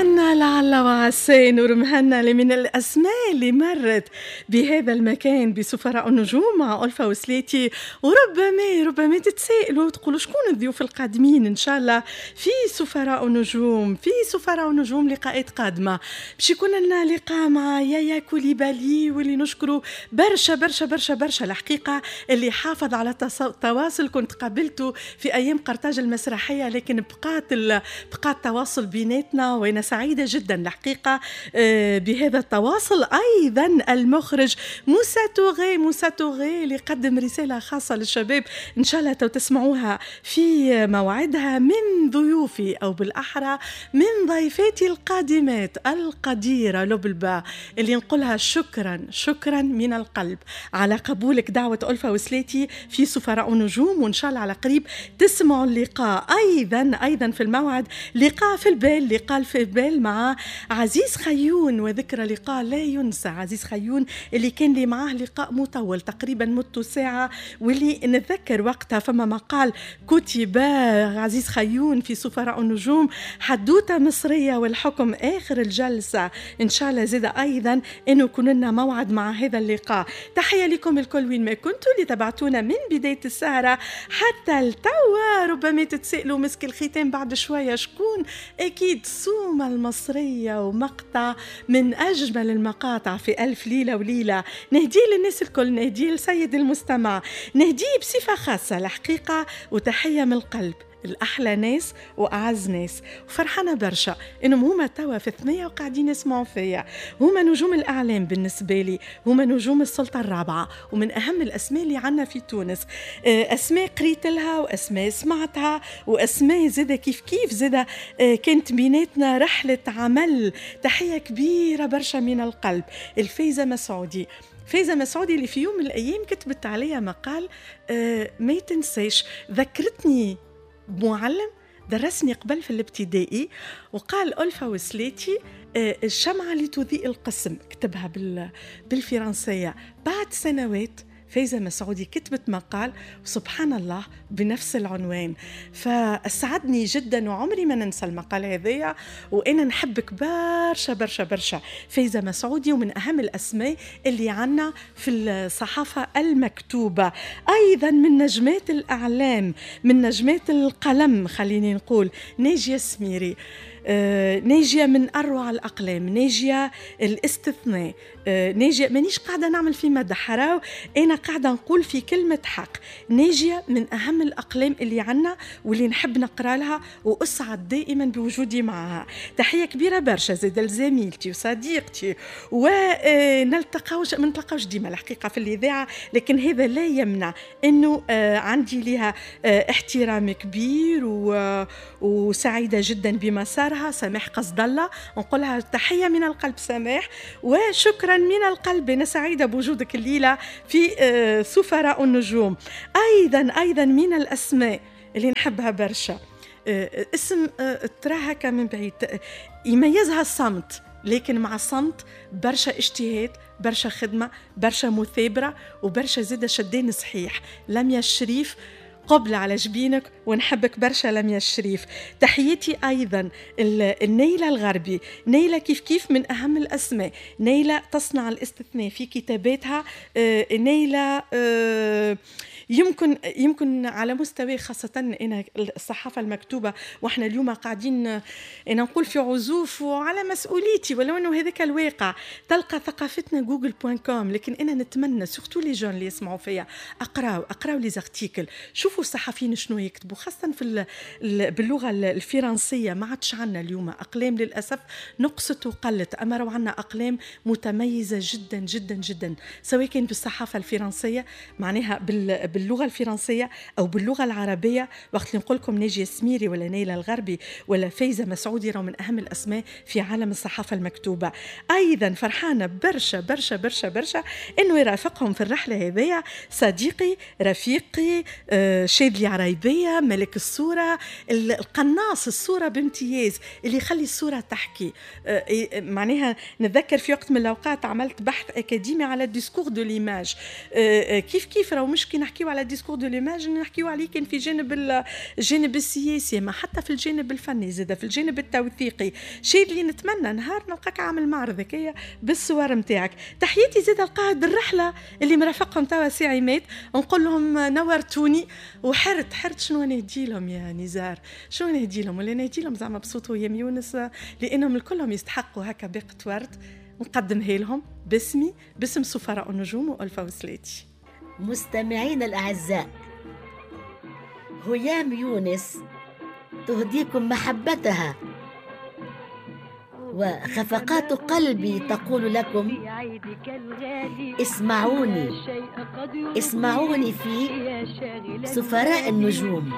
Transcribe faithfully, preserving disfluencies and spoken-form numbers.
مهنا، لعل وعسى نور مهنا اللي من الأسماء اللي مرت بهذا المكان بسفراء النجوم مع ألفة وسليتي. وربما ربما تتسائلوا تقولوا شكون الضيوف القادمين إن شاء الله في سفراء النجوم. في سفراء النجوم لقاءات قادمة، باش يكون لنا لقاء مع يايا كوليبالي، واللي نشكره برشا برشا برشا برشا الحقيقة، اللي حافظ على التواصل. كنت قابلته في أيام قرطاج المسرحية، لكن بقات بقى التواصل بيناتنا، وأنا سعيدة جدا الحقيقة بهذا التواصل. أيضا المخرج موسى توغي، موسى توغي اللي قدم رسالة خاصة للشباب، إن شاء الله تسمعوها في موعدها. من ضيوفي أو بالأحرى من ضيفاتي القادمات القديرة لبلبة، اللي نقولها شكرا شكرا من القلب على قبولك دعوة ألفة وسلاتي في سفراء النجوم، وإن شاء الله على قريب تسمعوا اللقاء. أيضا أيضا في الموعد لقاء في البال، لقاء في البال مع عزيز خيون، وذكرى لقاء لا ينسى. عزيز خيون اللي كان لي معاه لقاء مطول تقريبا مدته ساعة، واللي نتذكر وقتها فما مقال كتب عزيز خيون في سفراء النجوم، حدوتة مصرية والحكم آخر الجلسة. إن شاء الله زاد أيضا أنه يكون لنا موعد مع هذا اللقاء. تحية لكم الكل وين ما كنتوا اللي تبعتونا من بداية السهرة حتى التوا. ربما تتسألوا مسك الختام بعد شوية شكون؟ أكيد سومة المصرية، ومقطع من أجمل المقاطع في ألف ليلة وليلة. نهديه للناس الكل، نهديه لسيد المستمع، نهديه بصفة خاصة الحقيقة، وتحية من القلب الأحلى ناس وأعز ناس. وفرحانة برشا إنهم هما توا في ثنية وقاعدين يسمعوا فيا. هما نجوم الإعلام بالنسبة لي، هما نجوم السلطة الرابعة، ومن أهم الأسماء اللي عنا في تونس. أسماء قريت لها، وأسماء سمعتها، وأسماء زادة كيف كيف زادة كانت بيناتنا رحلة عمل. تحية كبيرة برشا من القلب الفايزة مسعودي. فايزة مسعودي اللي في يوم من الأيام كتبت عليها مقال ما يتنساش، ذكرتني معلم درسني قبل في الابتدائي، وقال ألفة وسلاتي الشمعة اللي تضيء القسم، كتبها بالفرنسية. بعد سنوات فايزة مسعودي كتبت مقال وسبحان الله بنفس العنوان، فأسعدني جدا وعمري ما ننسى المقال هذايا. وأنا نحبك برشا برشا برشا فايزة مسعودي، ومن أهم الأسماء اللي عنا في الصحافة المكتوبة. أيضا من نجمات الأعلام، من نجمات القلم خليني نقول، ناجية سميري. آه، ناجية من أروع الأقلام، ناجية الاستثناء، آه، ناجية مانيش قاعدة نعمل في مدح راو، أنا قاعدة نقول في كلمة حق. ناجية من أهم الأقلام اللي عنا واللي نحب نقرأ لها، وأسعد دائما بوجودي معها. تحية كبيرة برشا زاد لزميلتي وصديقتي، ونلتقاوش ما نتلقاوش ديما الحقيقة في الإذاعة، لكن هذا لا يمنع أنه آه، عندي لها آه، احترام كبير وسعيدة جدا بمسارها. سماح قصد الله، نقولها تحية من القلب سماح، وشكرا من القلب. أنا سعيدة بوجودك الليلة في سفراء النجوم. أيضا أيضا من الأسماء اللي نحبها برشا، اسم تراها من بعيد يميزها الصمت، لكن مع الصمت برشا اجتهاد، برشا خدمة، برشا مثابرة، وبرشا زادة شدان صحيح. لميا الشريف، قبل على جبينك ونحبك برشا لميا الشريف. تحياتي أيضا النيلة الغربي. نيلة كيف كيف من أهم الأسماء، نيلة تصنع الاستثناء في كتاباتها. نيلة يمكن يمكن على مستوى خاصة أنا الصحافة المكتوبة، وإحنا اليوم قاعدين أنا نقول في عزوف وعلى مسؤوليتي، ولو أنه هذاك الواقع. تلقى ثقافتنا Google point com، لكن أنا نتمنى surtout les jeunes اللي يسمعوا فيا أقراو أقراو les articles، شوفوا الصحفيين شنو يكتبوا، خاصة في باللغة الفرنسية. ما عادش عندنا اليوم أقلام للأسف، نقصت وقلت، أما راهو عندنا أقلام متميزة جدا جدا جدا، سواء كان بالصحافة الفرنسية معناها بال باللغة الفرنسية أو باللغة العربية. وقت اللي نقول لكم ناجية سميري ولا نيلة الغربي ولا فايزة مسعودي، راهو من أهم الأسماء في عالم الصحافة المكتوبة. أيضا فرحانة برشا برشا برشا برشا إنه يرافقهم في الرحلة هذيا صديقي رفيقي آه شاذلي عرايبية، ملك الصورة، القناص الصورة بامتياز، اللي يخلي الصورة تحكي. آه معناها نتذكر في وقت من الأوقات عملت بحث أكاديمي على ال discours de l'image. آه كيف كيف راهو مش كي نحكيو نحكيو على discours de l'image، نحكيو عليه كان في جانب الجانب السياسي، ما حتى في الجانب الفني زاد، في الجانب التوثيقي. شيء اللي نتمنى نهار نلقاك عامل معرض هكايا بالصور نتاعك. تحياتي زاد القائد الرحلة اللي مرافقهم توا سي عماد، نقول لهم نورتوني. وحرت حرت شنو نهدي لهم يا نزار، شنو نهدي لهم؟ ولا نهدي لهم زعما بصوت هيام يونس، لانهم الكلهم يستحقوا هكا باقة ورد نقدمها لهم باسمي، باسم سفراء النجوم وألفة وسلاتي. مستمعينا الأعزاء، هيام يونس تهديكم محبتها، وخفقات قلبي تقول لكم اسمعوني، اسمعوني في سفراء النجوم.